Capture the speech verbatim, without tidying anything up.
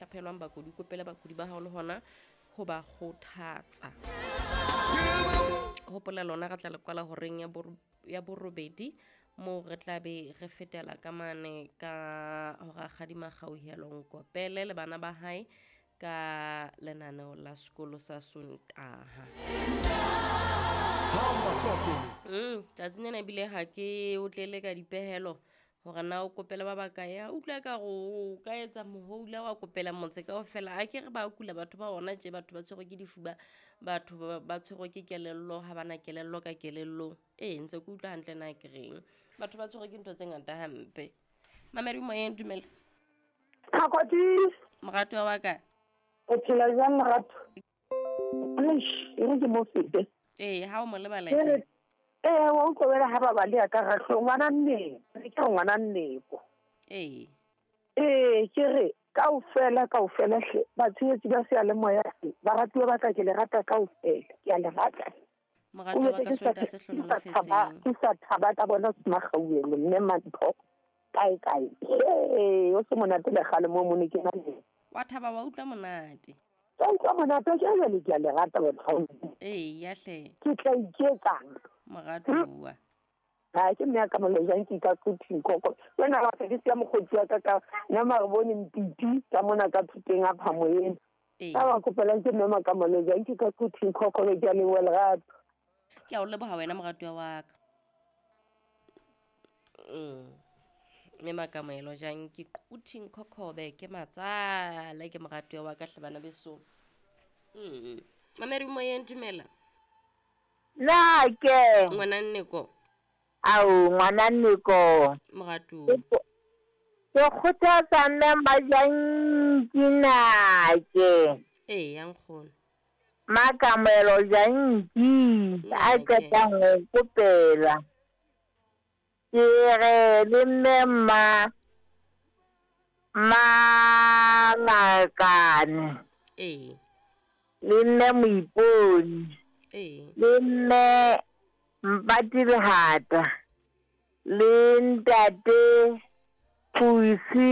hlaphelwang bakudi, o kopele bakudi ba hao le hona ho ba kgothatsa. Hopola lona re tla le kwala horeng ya boro ya borobedi moo re tla be re fetela ka mane ka ho rakgadi Makgauhelo Nkopele le bana ba hae ka lenaneo la sekolo sa Sontaha. Mm, tsatsing lena ebile ha ke o tlele ka dipehelo hore na o kopele ba bakae. A utlwa ka re o ka etsa mohoula wa kopela motse kaofela. A ke re ba kula batho ba ona tje, batho ba tshwerwe ke difuba, batho ba ba tshwerwe ke kelello, ha bana kelello ka kelellong. Ee, ntse ke utlwa hantle na ke reng. Batho ba tshwerwe ke ntho tse ngata hampe. Mamedi moyeng, dumela. Thakoti. Moratuwa wa ka. O phela jwang lerato? Eish, e re ke mo fete. Ee, ha o mo lebala Ke re tje. Ee, wa utlwa wena ha ba baleha ka rahlong, ngwana nnete, ke re ngwana nneko. Ee. Ee, ke re kaofela, kaofela hle, batshehetsi ba seyalemoya, baratuwa ba ka ke le rata kaofela, ke a le rata. Moratuwa wa O ka jwetse ke sa Sontaha se ke sa thaba, hlohonolofetseng. ke sa thaba ka bona Makgauhelo, mme Mantho, kae kae. Ee, o se monate le kgale moo mo ne ke na le. Wa thaba wa utlwa monate. Ka utlwa monate, ke jwale ke a le rata batho. Ee, ya hle. Ke tla iketsang. Moratuwa. Ha ke mme ya ka molojang ke ka quthing koko. Wena wa ka ke siya mokgotsi wa ka ka nama re bone mpiti ka mona ka thuteng a phamo ena. Ee. Ka ba kopelang ke mme ka molojang ke ka quthing koko ke a leboha lerato. Ke a o leboha wena moratuwa wa ka. Mm. Mme Makamoelo jang ke quthing khokhobe ke matsale ke moratuwa wa ka hle bana beso. Mm. Mamedi moyeng, dumela. Na ke. Ngwana Nneko. Ao, ngwana Nneko. Moratuwa. Ke kgothatsa mme Majanki nake. Ee, ya nkgono. Makamoelo Janki a Nake. qetang ho kopela. Ke re le mme ma Mangakane. Ee. Le mme Moiponi. Ee. Le mme Mpati Lehata. Le ntate Pusi